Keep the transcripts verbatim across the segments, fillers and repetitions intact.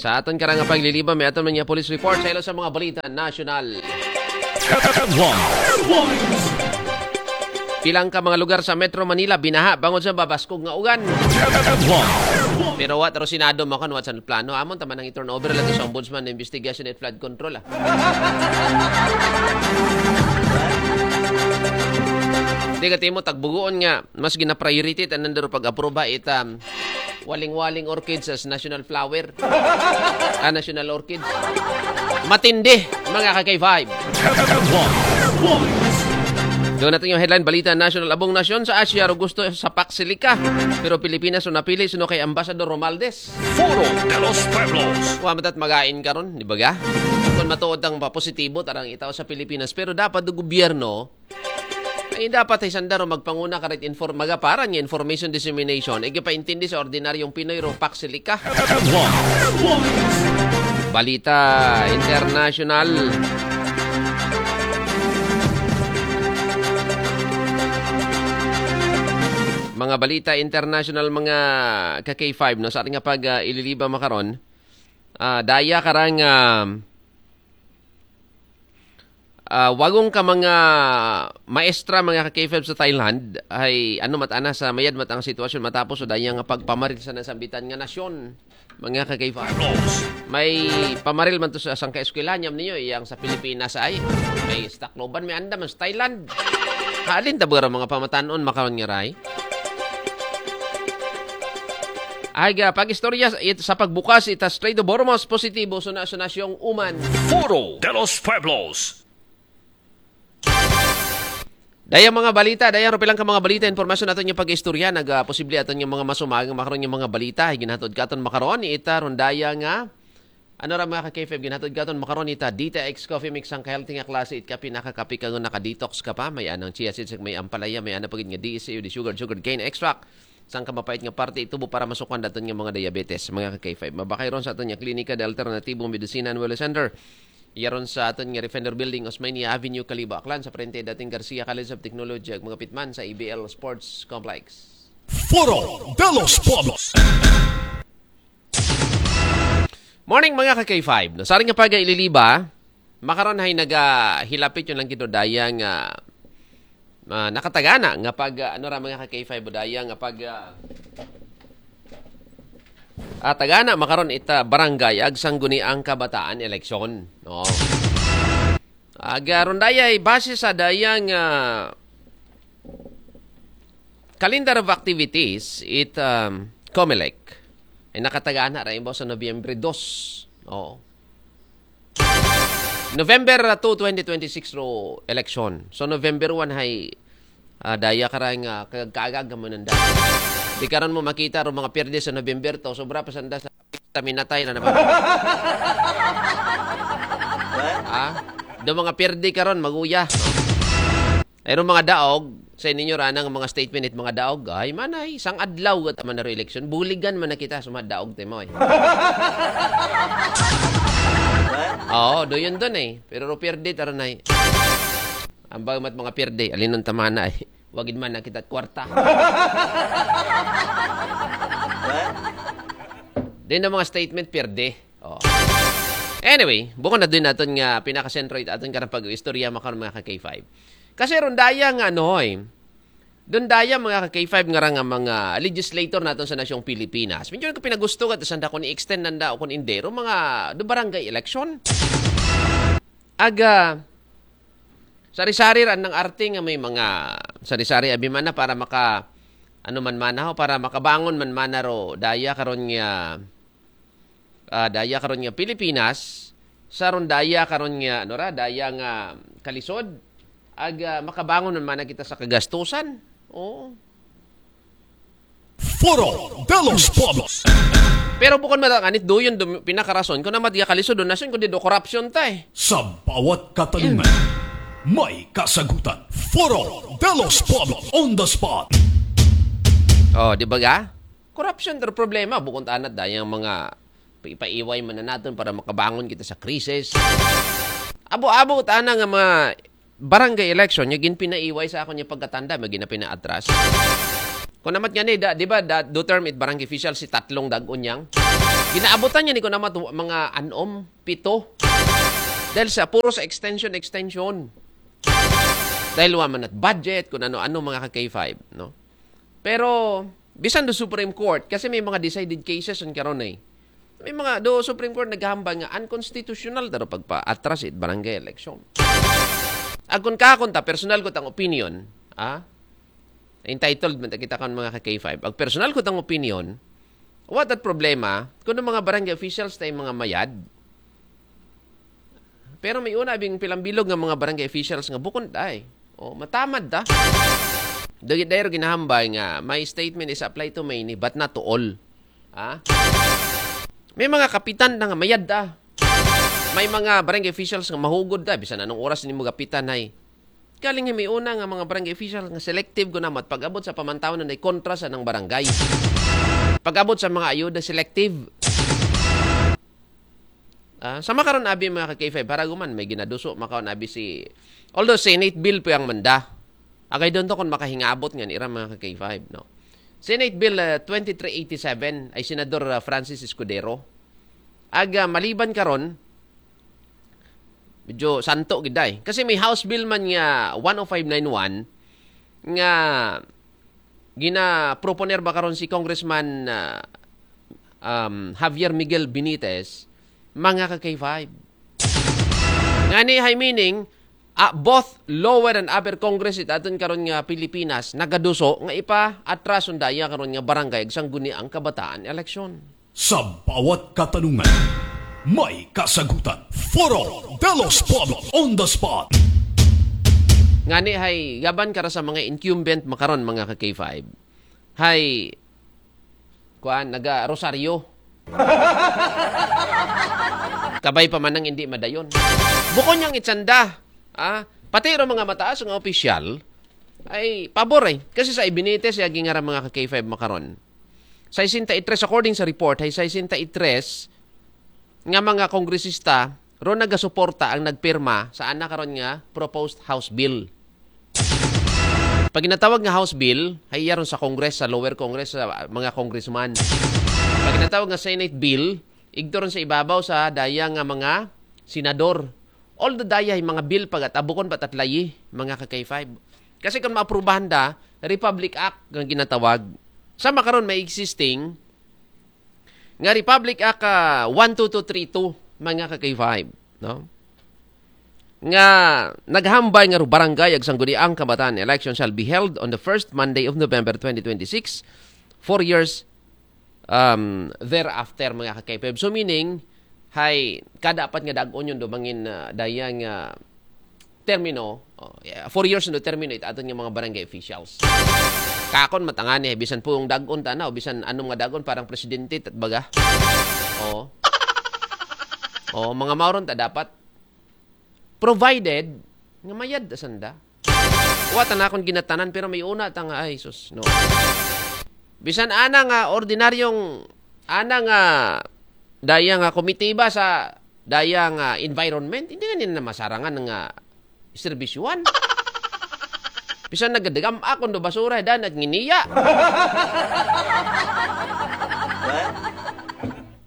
Sa aton karang nga paglilibang, may aton man nga police report sa ilo sa mga balita nasyonal. Headlines. Pilang ka mga lugar sa Metro Manila binaha bangod sa babaskog nga ugan. Headlines. Pero wa taro Senado makon, wa sa plano. Amon taman ang i-turnover lang sa Ombudsman na Investigation at Flood Control, ah. Di ka timo tagbuguon nga mas gina-priority tanan daro pag-aproba ita waling-waling orchids as national flower. Ah, national orchids. Matindi, mga ka-K five. Doon natin yung headline balita national. Abong nasyon sa Asia, ro gusto sa Pax Silica. Pero Pilipinas ro napili, sino kay Ambassador Romaldes? Foro de los Pueblos. Wa matat magain karon, di ba ga? Kung matuod ang pa positibo, tarang itaw sa Pilipinas. Pero dapat do gobyerno, ay dapat ay sandaro magpanguna karit inform, magaparan nga information dissemination. Ay gipaintindi sa ordinaryong Pinoy ro Pax Silica. Balita international. Mga balita international, mga ka-K five, no? Sa ating nga pag, ah, ililiba makaron, ah, daya karang, ah, ah, wagong ka mga maestra, mga ka-K five sa Thailand, ay ano mat ana sa mayad mat ang sitwasyon matapos o daya nga pagpamaril sa nasambitan nga nasyon, mga ka-K five. May pamaril man to sa sangka eskwela, nyam niyo, iyang sa Pilipinas ay may stakloban, may anda man sa Thailand. Halin ta ba ra mga pamatanon makaron nga ray? Ay ga, pag-istorya sa, it-, sa pagbukas ita Strait of Hormuz, positibo so na, so nasyong uman. Foro de los Pueblos. Dayang mga balita, dayang rupilang ka mga balita, impormasyon aton yung pag-istorya, nag, ah, posible aton yung mga masumagang makaron yung mga balita, ay ginhatod ka aton makaron, ita ron daya nga, ano ra mga ka-K five, ginhatod ka aton makaron, ita, Dita X Coffee Mix, ang ka-healthy nga klase, it kape, nakakape ka nga naka-detox ka pa, may anang chia seeds, may ampalaya, may ana pagid nga D S A O, di sugar, sugar cane extract, sang ka mapait nga parte, itubo para masukan daton nga mga diabetes, mga ka-K five. Mabakay ron sa aton nga klinika, the Alternativo Medicina and Wellness Center. Iya ron sa aton nga Refender Building, Osmeña Avenue, Kalibo, Aklan, sa parente dating Garcia College of Technology, ag mga pitman sa A B L Sports Complex. Foro de los Pueblos. Morning, mga ka-K five. No, saring nga pag ililiba, makaron hay nagahilapit yung lang gito daya nga, ah, nakatagana nga pag, ah, ano ra, mga ka-K five, daya nga pag, ah, ah, tagana makaron ita barangay ag sangguniang kabataan eleksyon, no? Aga ron daya ay base sa dayang, ah, calendar of activities, it, um, Comelec ay nakatagana ra imbaw sa Nobyembre dos. Oo. November, ah, two, twenty twenty-six ro election. So, November one hay, ah, daya karang, ah, kagag-kagag nga mananda. Di karon mo makita ro mga pierde sa November to. Sobra pa sanda sa, sa minatay na naman. Ah? Do mga pierde karon, maguya. Ay, ro mga daog, sa ninyo ranang mga statement it mga daog, ay manay, sang adlaw gat man na election, buligan man na kita sa mga daog, timo, eh. Oo, do yun dun, eh. Pero ro pierde, taranay. Ang bagay mat mga pierde, alinon tamana, eh. Wagid man na kita kwarta. Then ang mga statement, pierde. Oh. Anyway, bukod na din natin nga pinakasentro it aton karang pag-istorya makaron mga ka-K five. Kasi ron daya nga ano, eh. Doon daya mga ka-K five nga ra nga mga legislator naton sa nasyong Pilipinas. Medyo ko pinagusto ka, sanda ko ni extend nanda o kung hindi, ro mga do barangay election. Aga, sari-sari ran ng arte nga may mga sari-sari abimana para maka, ano man mana ho, para makabangon man mana ro daya karon nga, ah, daya karon nga Pilipinas, sa ron daya karon nga, ano ra, daya nga kalisod, ag, ah, makabangon man mana kita sa kagastusan. Oo. Foro de los Pueblos. Pero bukod matanganit, doon dum-, pinakarason, kung naman di kalisod, doon nason, kung di do korupsyon ta, eh. Sa bawat katanungan, may kasagutan. Foro de los Pueblos on the spot. Oh, di ba ga? Korupsyon, pero problema, bukod anat, dayang mga pa-, ipaiway man na natin para makabangon kita sa krisis. Abo-abo, tana nga mga barangay election, yung ginpinaiway sa akon yung pagkatanda, may ginapinaatras. Kung namat nga ni, da, di ba, da, do term it barangay official si tatlong dagon yang? Ginaabutan niya ni ko naman mga anom, pito. Dahil sa puro sa extension, extension. Dahil wa man at budget, kung ano-ano, mga ka-K five, no? Pero, bisan do Supreme Court, kasi may mga decided cases on karon eh. May mga do Supreme Court naghambal nga unconstitutional daro pagpa-atras it barangay election. Agon ka, kung ta, personal ko tang opinion, ah? Entitled man ta kita kan mga ka-K five. Ag personal ko tang opinion, what that problema, kung ang mga barangay officials tayo mga mayad, pero may una bing pilambilog nga mga barangay officials nga bukon day. O, matamad ta. Dagit dayro ginahambay nga my statement is apply to many but not to all. Ha? May mga kapitan na nga mayad da. May mga barangay officials nga mahugod da. Bisan anong oras nimo gapitan ay. Kaling may una nga mga barangay officials nga selective ko namat pag-abot sa pamantaw na kontra sa nang barangay. Pag-abot sa mga ayuda, selective. Ah, sa makaron abi mga ka-K five, haraguman, may ginaduso, makaon abi si, although Senate bill po ang manda. Agay doon to kung makahingabot nga nira mga ka-K five, no? Senate Bill ah, twenty-three eighty-seven ay Senador ah, Francis Escudero. Ag ah, maliban karon, medyo santo giday. Kasi may House Bill man nga one oh five nine one nga gina-proponer ba karon si Congressman ah, um, Javier Miguel Benitez, mga ka-K five. Ngani hay meaning, ah, both lower and upper Congress it aton karon nga Pilipinas nagaduso nga ipa-atras undaya karon nga barangay ag sangguniang kabataan eleksyon. Sa bawat katanungan, may kasagutan. Foro de los Pueblos on the spot. Ngani hay gaban kara sa mga incumbent makaron mga ka-K five. Hay kuan naga rosaryo. Kabay pa manang hindi madayon. Bukon niyang itsanda, ah, pati ro mga mataas nga opisyal ay pabor eh. Kasi sa Ibinete siya gingara mga ka-K five makaron. Sa sesenta y tres, according sa report, ay sesenta y tres nga mga kongresista ro nagasuporta ang nagpirma sa ana karon nga proposed House Bill. Pag ginatawag nga House Bill, hay iya ron sa Congress, sa lower Congress, sa mga congressman. Pag ginatawag nga Senate Bill, igto ron sa ibabaw sa daya nga mga senador. All the daya ay mga bill pag at abukon pa tatlayi, mga ka-K five. Kasi kung maaprubahan da, Republic Act nga ginatawag. Sa makaron may existing nga Republic Act ah, one two two three two, mga ka-K five, no? Nga naghambay nga barangay ag sangguniang kabataan election shall be held on the first Monday of November twenty twenty-six, four years um, thereafter, mga ka-K five. So meaning, hay kada apat nga dag-on yun dumangin uh, dayang uh, termino, oh, yeah, four years no termino it aton nga mga barangay officials. Kakon matangani, bisan pong dag-on ta na, o bisan anong nga dag-on, parang presidente, tat baga. Oh. Oh, mga mauron ta dapat. Provided, nga mayad sanda. Wa ta na akong ginatanan, pero may una ta nga, ay, sus, no. Bisan ana nga ordinaryong, ana nga, daya nga komitiba sa, daya nga environment, hindi nga nila masarangan nga serbisyuhan. Bisan nagadagam akong do basura, dan at nginiya.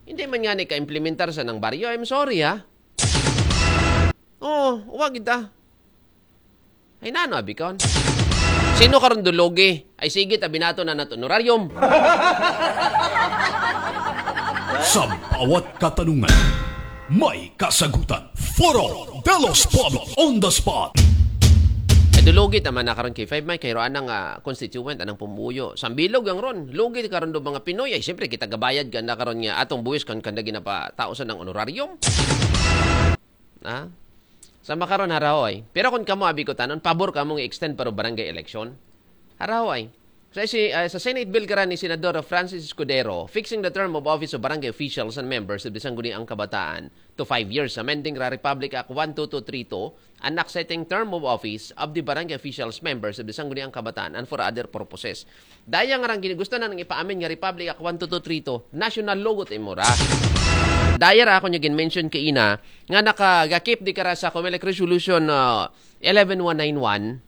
Hindi man nga ni ka-implementar sa nang baryo, I'm sorry ha. Oh, wag kita. Ay nano, abikon. Sino karon dulugi? Ay sige, tabi nato na nato honorarium. Sa bawat katanungan, may kasagutan. Foro de los Pueblos on the spot. Ay dulugi tama na karon kay five may kay anang uh, constituent anang pumuyo. Sambilog ang ron. Lugi karon do mga Pinoy ay siyempre kita gabayad ka na karon nga atong buwis kan kanda ginapatao sa nang honorarium. Ha? Sa makaron harahoy. Pero kung kamo abi ko tanon, pabor kamo nga extend para barangay election. Harahoy. Sa, si, uh, sa Senate Bill karan ni Senador Francis Escudero, fixing the term of office of barangay officials and members of the Sangguniang Kabataan to five years, amending ra Republic Act one two two three two, anak setting term of office of the barangay officials members of the Sangguniang Kabataan and for other purposes. Daya nga rang gusto na nang ipaamin nga Republic Act one two two three two, national logo ta imura. Daya ra ako niya gin-mention kaina nga nakagakip di kara sa COMELEC Resolution uh, eleven one nine one,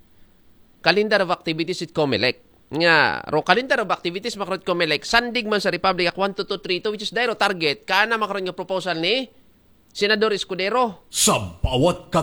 Calendar of Activities it COMELEC. Nga, ro kalendaryo of activities makaron COMELEC, sandig man sa Republic Act one two two three two, which is dairo target, kaana makaron nga proposal ni Senador Escudero. Sa bawat